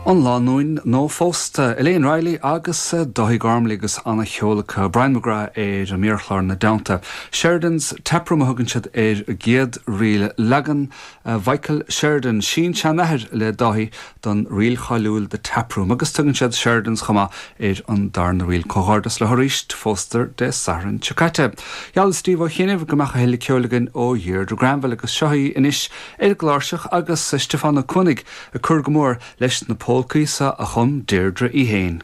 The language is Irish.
An lánúin nuaphósta, Elaine Reilly agus Dáithí Gormley agus ana-cheol acu, Brian McGrath ar an méarchlár ina dteannta. Sheridan's Taproom a thugann siad ar a gcéad ríl, leagan Mhichael Sheridan, sin-seanathair le Dáithí, don ríl cháiliúil The Tap Room agus tugann siad Sheridan's chomh maith ar an darna ríl. Comhghairdeas leo arís, phósadar Dé Sathairn seo caite. Gheall Steve Ó Chianaibh go mbeadh a thuilleadh ceoil againn ó Dheirdre Granville agus seo í anois ar an gcláirseach agus Stiofán Ó Cuanaigh ag cur go mór leis na polcaí so a chum Deirdre í féin.